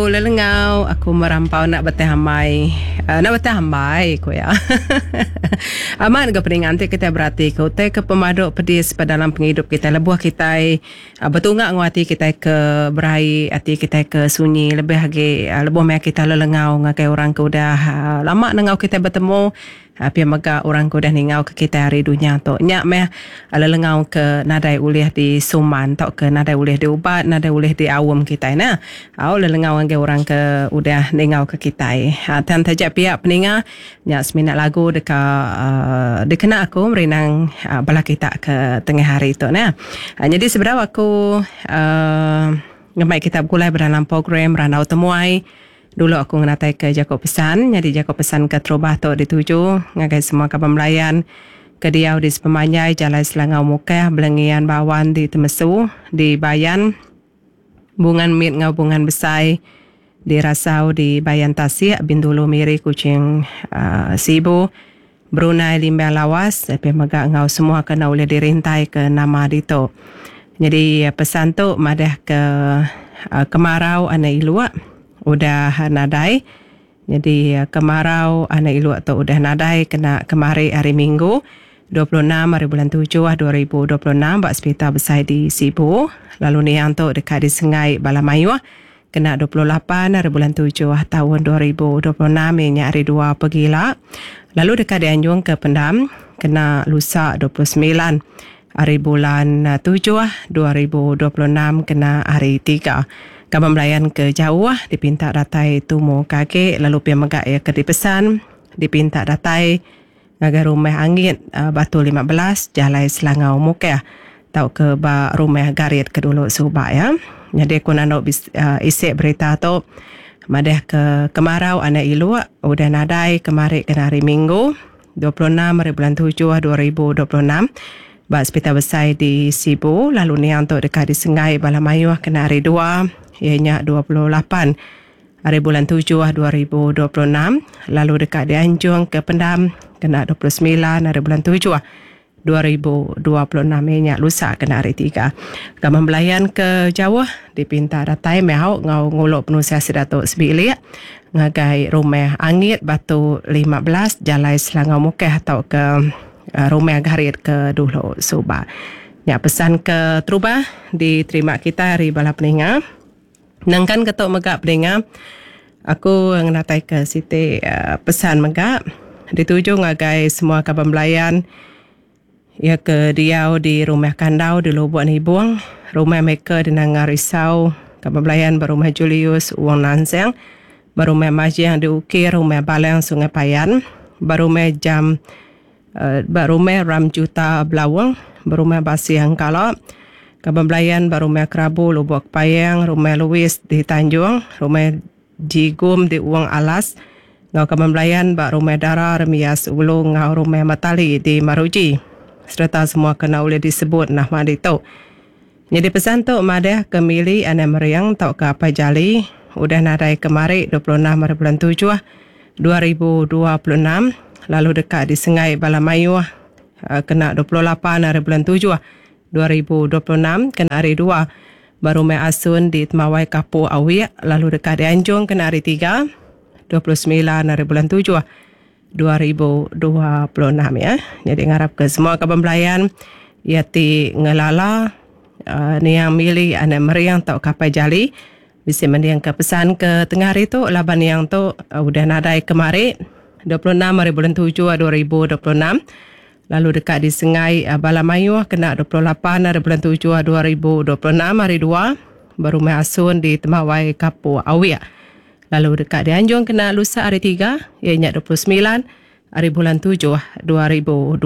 Lagu lelengau aku merampau enda betah ambai enda betah ambai ku iya. Amat ga peninga enti kitai berati ke utai ke pemadu pedis ba dalam pengidup kitai lebuh kitai betunga enggau ati kitai ke beraie ati kitai ke sunyi lebih agi lebuh maya kitai lelengau ngagai orang ke udah lama nengau kitai betemu. Pia mega orang ke udah ningauka kitai ari dunya tu. Nya meh lelengau ke nadai ulih disuman tauka nadai ulih diubat, nadai ulih diaum kitai neh. Au lelengau ngagai orang ke udah ningauka kitai. Tang taja pia peninga nya semina lagu deka dikena aku merindang bala kita ke tengah hari tu neh. Nyadi sebedau aku ngemai kita begulai ba dalam program Randau Temuai. Dulu aku ngenataika jaku pesan, nyadi jaku pesan keterubah tu dituju ngagai semua kaban belayan ke diau di sepemanjai Jalai Selangau Mukah, Belengian Bawan di Temesu, di Bayan, Bungan Mit enggau Bungan Besai, di Rasau, di Bayan Tasik, Bintulu, Miri, Kuching, Sibu, Brunei, Limbang Lawas, pia mega enggau semua ke enda ulih dirintaika nama ditu. Nyadi pesan tu madahka kemarau anak iluk udah nadai. Nyadi kemarau anak iluk tu udah nadai kena kemari hari Minggu 26 hari bulan tujuh 2026 ba Sepital Besai di Sibu lalu niang tu deka disengai bala mayuh Kena 28 ari bulan tujuh taun 2026 iya nya hari dua pegila lalu deka dianjung ke pendam kena lusa 29 ari bulan tujuh 2026 kena hari tiga. Kaban belayan ke jauh dipinta datai tumu ke agi lalu pia mega iya ke dipesan dipinta datai ngagai Rumah Angit Batu 15 Jalai Selangau Mukah tauka ba Rumah Garit ke dulu suba iya. Nyadi aku nandu isi berita tu madah ke kemarau anak iluk udah nadai kemari kena hari Minggu 26 hari bulan tujuh 2026 ba Sepital Besai di Sibu lalu niang tu deka disenggai bala mayuh kena hari dua iya nya 28 Ari bulan tujuh 2026 lalu deka dianjung ke pendam kena 29 ari bulan tujuh 2026 iya nya lusa kena hari tiga. Kaban belayan ke jauh dipinta datai meh au enggau ngulu penusah sida tu sebilik ngagai Rumah Angit Batu 15 Jalai Selangau Mukah tauka Rumah Garit ke dulu suba. Nya pesan ke terubah diterima kitai ari bala peninga. Nangkan ke tu mega peninga, aku ngenataika siti pesan mega dituju ngagai semua kaban belayan iya ke diau di Rumah Kandau di Lubok Nibong, Rumah Maker di Nanga Risau, kaban belayan ba Rumah Julius Wong Nanseng, ba Rumah Majing di Ukir, Rumah Balang Sungai Payan, ba Rumah Jam Ba Rumah Ram Juta Belaung, ba Rumah Basih Engkala, Kaban Belayan ba Rumah Kerabu Lubok Kepayang, Rumah Louis di Tanjung, Rumah Jigum di Wong Alas enggau Kaban Belayan ba Rumah Dara Remias Ulu enggau Rumah Matali di Maruji sereta semua ke enda ulih disebut nama ditu. Nyadi pesan tu madah ke Mili anak Mering tauka Apai Jali udah nadai kemari 26 hari bulan tujuh 2026 lalu deka disengai bala mayuh kena 28 hari bulan tujuh 2026 kena hari dua ba Rumah Asun di Temawai Kapu Awik lalu deka dianjung kena hari tiga 29 hari bulan tujuh 2026 ya. Jadi ngarap ke semua kaban belayan iya ti ngelala uh, niang mili anak meriang tau kapai jali bisi mending ke pesan ke tengah hari tu laban niang tu uh, udah nadai kemari 26 hari bulan 7 2026 lalu deka disengai uh, bala mayuh kena 28 hari bulan 7 2026 hari 2 berumah asun di Temawai Kapur Awik. Lalu deka dianjung kena lusa hari tiga iya nya 29 ari bulan tujuh 2026.